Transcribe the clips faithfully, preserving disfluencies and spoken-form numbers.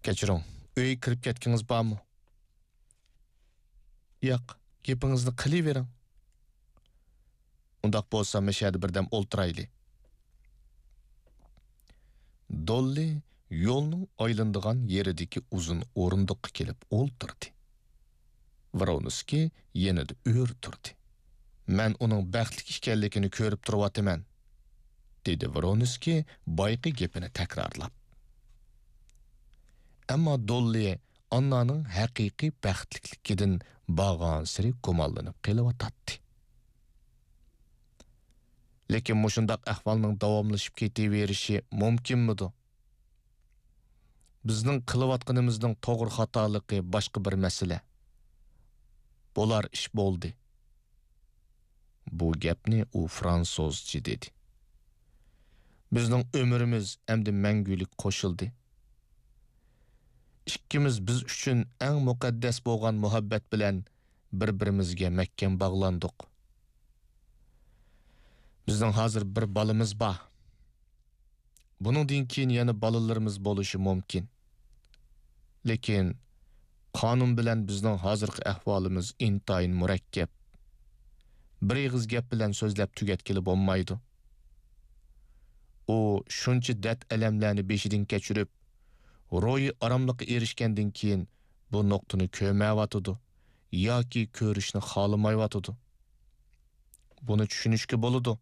كەچۈرۈڭ، ئۆيگە كىرىپ كەتكىڭىز بارمۇ؟ ياق، گېپىڭىزنى قىلىۋېرىڭ. ئۇنداق بولسا، مەشەدە بىردەم ئولتۇرايلى. دوللى يولنىڭ ئايلىنىدىغان يېرىدىكى ئۇزۇن ئورۇندۇققا كېلىپ ئولتۇردى. ۋرونسكىي يېنىدا ئۆرە تۇردى. مەن ئۇنىڭ بەختلىك ئىكەنلىكىنى كۆرۈپ تۇرۇۋاتىمەن، دېدى ۋرونسكىي بايىقى گېپىنى تەكرارلاپ. ئەمما دوللى ئاننانىڭ ھەقىقىي بەختلىكلىكىدىن بارغانسېرى گۇمانلىنىپ قېلىۋاتاتتى. لېكىن مۇشۇنداق ئەھۋالنىڭ داۋاملىشىپ كېتىۋېرىشى مۇمكىنمىدۇ؟ بىزنىڭ قىلىۋاتقىنىمىزنىڭ توغرا خاتالىقى باشقا بىر مەسىلە. بولار ئىش بولدى. بۇ گەپنى ئۇ فرانسۇزچە دېدى. بىزنىڭ ئۆمرىمىز ئەمدى مەڭگۈلۈك قوشۇلدى. ئىككىمىز بىز ئۈچۈن ئەڭ مۇقەددەس بولغان مۇھەببەت بىلەن بىر-بىرىمىزگە مەھكەم باغلاندۇق. بىزنىڭ ھازىر بىر بالىمىز بار. بۇنىڭدىن كېيىن يەنە بالىلىرىمىز بولۇشى مۇمكىن. لېكىن قانۇن بىلەن بىزنىڭ ھازىرقى ئەھۋالىمىز ئىنتايىن مۇرەككەپ. بىر ئېغىز گەپ بىلەن سۆزلەپ تۈگەتكىلى بولمايدۇ. ئۇ شۇنچە دەرد-ئەلەملەرنى بېشىدىن كەچۈرۈپ، روھىي ئاراملىققا ئېرىشكەندىن كېيىن بۇ نۇقتىنى كۆرمەيۋاتىدۇ ياكى كۆرۈشنى خالىمايۋاتىدۇ. بۇنى چۈشىنىشكە بولىدۇ.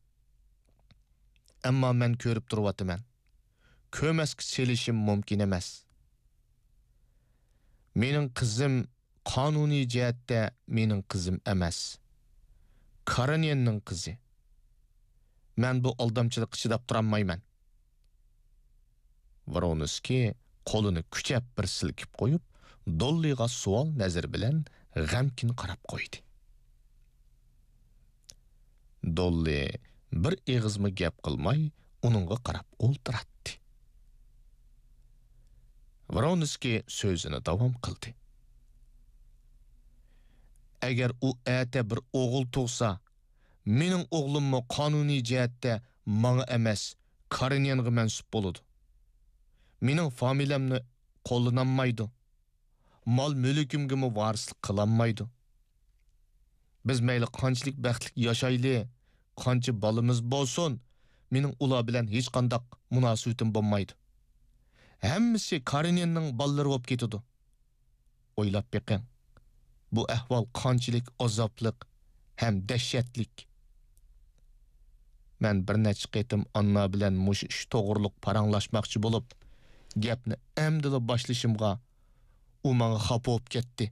ئەمما مەن كۆرۈپ تۇرۇۋاتىمەن. كۆرمەسكە سېلىشىم مۇمكىن ئەمەس. مېنىڭ قىزىم قانۇنىي جەھەتتە مېنىڭ قىزىم ئەمەس. كارېنىننىڭ قىزى. مەن بۇ ئالدامچىلىققا چىداپ تۇرالمايمەن. ۋرونسكىي قولىنى كۈچەپ بىر سىلكىپ قويۇپ، دوللىغا سوئال نەزىرى بىلەن غەمكىن قاراپ قويدى. دوللى بىر ئېغىزمۇ گەپ قىلماي، ئۇنىڭغا قاراپ ئولتۇراتتى. ۋرونسكىي سۆزىنى داۋام قىلدى. ئەگەر ئۇ ئەتە بىر ئوغۇل تۇغسا، مېنىڭ ئوغلۇممۇ قانۇنىي جەھەتتە ماڭا ئەمەس، كارېنىنغا مەنسۇپ بولىدۇ. مېنىڭ فامىلەمنى قوللىنالمايدۇ. مال-مۈلكۈمگىمۇ ۋارىسلىق قىلالمايدۇ. بىز مەيلى قانچىلىك بەختلىك ياشايلى، قانچە بالىمىز بولسۇن، مېنىڭ ئۇلار بىلەن ھېچقانداق مۇناسىۋىتىم بولمايدۇ. ھەممىسى كارېنىننىڭ بالىلىرى بولۇپ كېتىدۇ. ئويلاپ بېقىڭ، بۇ ئەھۋال قانچىلىك ئازابلىق ھەم دەھشەتلىك. مەن بىر نەچچە قېتىم ئاننا بىلەن مۇشۇ ئىش توغرۇلۇق پاراڭلاشماقچى بولۇپ، گەپنى ئەمدىلا باشلىشىمغا، ئۇ ماڭا خاپا بولۇپ كەتتى.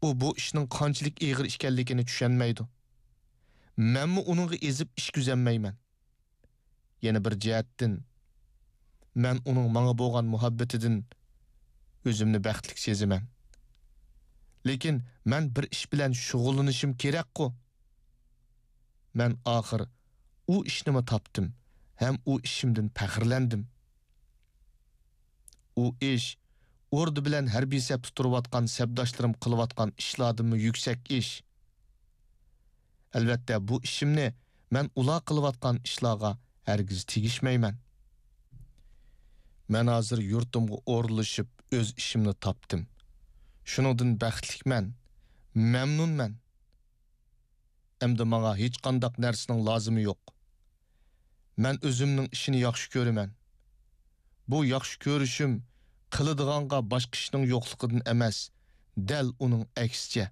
ئۇ بۇ ئىشنىڭ قانچىلىك ئېغىر ئىكەنلىكىنى چۈشەنمەيدۇ. مەنمۇ ئۇنىڭغا ئېزىپ ئىش كۆزەلمەيمەن. يەنە بىر جەھەتتىن، مەن ئۇنىڭ ماڭا بولغان مۇھەببىتىدىن ئۆزۈمنى بەختلىك سېزىمەن. لېكىن مەن بىر ئىش بىلەن شۇغۇللىنىشىم كېرەكقۇ. مەن ئاخىر ئۇ ئىشنىمۇ تاپتىم ھەم ئۇ ئىشىمدىن پەخىرلەندىم. ئۇ ئىش ئوردا بىلەن ھەربىي سەپتە تۇرۇۋاتقان سەپداشلىرىم قىلىۋاتقان ئىشلاردىنمۇ يۈكسەك ئىش. ئەلۋەتتە، بۇ ئىشىمنى مەن ئۇلار قىلىۋاتقان ئىشلارغا ھەرگىز تېگىشمەيمەن. مەن ھازىر يۇرتۇمغا ئورۇنلىشىپ، ئۆز ئىشىمنى تاپتىم. شۇنىڭدىن بەختلىكمەن، مەمنۇنمەن. ئەمدى ماڭا ھېچقانداق نەرسىنىڭ لازىمى يوق. مەن ئۆزۈمنىڭ ئىشىنى ياخشى كۆرىمەن. بۇ ياخشى كۆرۈشۈم قىلىدىغانغا باشقا ئىشنىڭ يوقلۇقىدىن ئەمەس، دەل ئۇنىڭ ئەكسىچە.